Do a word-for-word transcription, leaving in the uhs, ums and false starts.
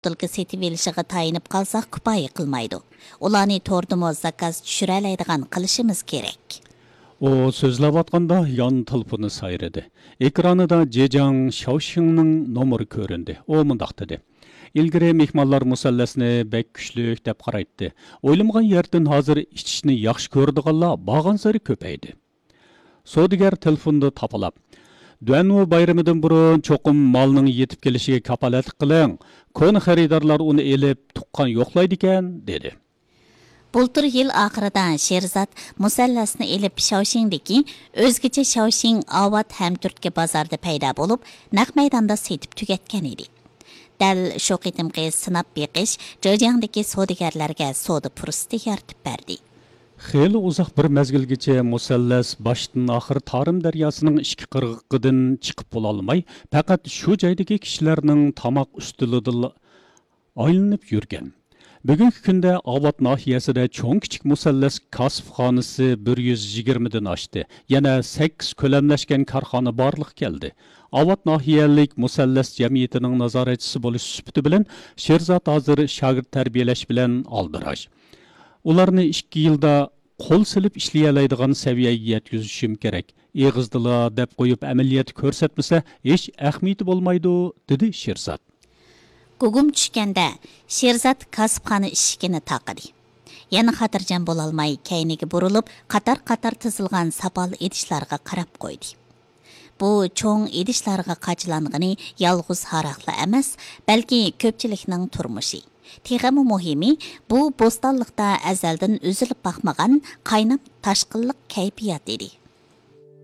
بوتۇلكا سېتىۋېلىشىغا تايىنىپ قالساق، كۇپايە قىلمايدۇ. ئۇلارنى توردىمۇ زاكاز چۈشۈرەلەيدىغان قىلىشىمىز كېرەك. ئۇ سۆزلەۋاتقاندا يان تېلېفونى سايرىدى. ئېكرانىدا جېجاڭ شياۋشىڭنىڭ نومۇرى كۆرۈندى. ئۇ مۇنداق دېدى: «ئىلگىرى مېھمانلار مۇسەللەسنى بەك كۈچلۈك دەپ قارايتتى. ئويلىمىغان يەردىن ھازىر ئىچىشنى ياخشى كۆرىدىغانلار بارغانسېرى كۆپەيدى.» سودىگەر تېلېفوندا تاپىلاپ: «دۇەنۋۇ بايرىمىدىن بۇرۇن چوقۇم مالنىڭ يېتىپ كېلىشىگە كاپالەتلىك قىلىڭ. كونا خېرىدارلار ئۇنى ئېلىپ تۇغقان يوقلايدىكەن» دېدى. بۇلتۇر يىل ئاخىرىدا شېرزات مۇسەللەسنى ئېلىپ شياۋشىڭدىكى ئۆزگىچە شياۋشىڭ ئاۋات ھەمتۈرتكە بازاردا پەيدا بولۇپ، نەق مەيداندا سېتىپ تۈگەتكەن ئىدى. دەل شۇ قېتىمقى سىناپ بېقىش جېجياڭدىكى سودىگەرلەرگە سودا پۇرسىتى يارىتىپ بەردى. خېلى ئۇزاق بىر مەزگىلگىچە مۇسەللەس باشتىن ئاخىر تارىم دەرياسىنىڭ ئىككى قىرغىقىدىن چىقىپ بولالماي، پەقەت شۇ جايدىكى كىشىلەرنىڭ تاماق ئۈستىلىدىلا ئايلىنىپ يۈرگەن. بۈگۈنكى كۈندە ئاۋات ناھىيەسىدە چوڭ كىچىك مۇسەللەس كاسىپخانىسى بىر يۈز يىگىرمىدىن ئاشتى. يەنە سەككىز كۆلەملەشكەن كارخانا بارلىققا كەلدى. ئاۋات ناھىيەلىك مۇسەللەس جەمئىيىتىنىڭ نازارەتچىسى بولۇش سۈپىتى بىلەن، شېرزات ھازىر شاگىرت تەربىيەلەش بىلەن ئالدىراش. ئۇلارنى ئىككى يىلدا قول سېلىپ ئىشلىيەلەيدىغان سەۋىيەگە يەتكۈزۈشۈم كېرەك. ئېغىزدىلا دەپ قويۇپ، ئەمەلىيەتتە كۆرسەتمىسە، ھېچ ئەھمىيىتى بولمايدۇ، دېدى شېرزات. گۇگۇم چۈشكەندە، شېرزات كاسىپخانا ئىشىكىنى تاقىدى. يەنە خاتىرجەم بولالماي، كەينىگە بۇرۇلۇپ، قاتار-قاتار تىزىلغان ساپال ئىدىشلارغا قاراپ قويدى. بۇ چوڭ ئىدىشلارغا قاچىلانغىنى يالغۇز ھاراقلا ئەمەس، بەلكى كۆپچىلىكنىڭ تۇرمۇشى. تېخىمۇ مۇھىمى، بۇ بوستانلىقتا ئەزەلدىن ئۈزۈلۈپ باقمىغان قاينام تاشقىنلىق كەيپىيات ئىدى.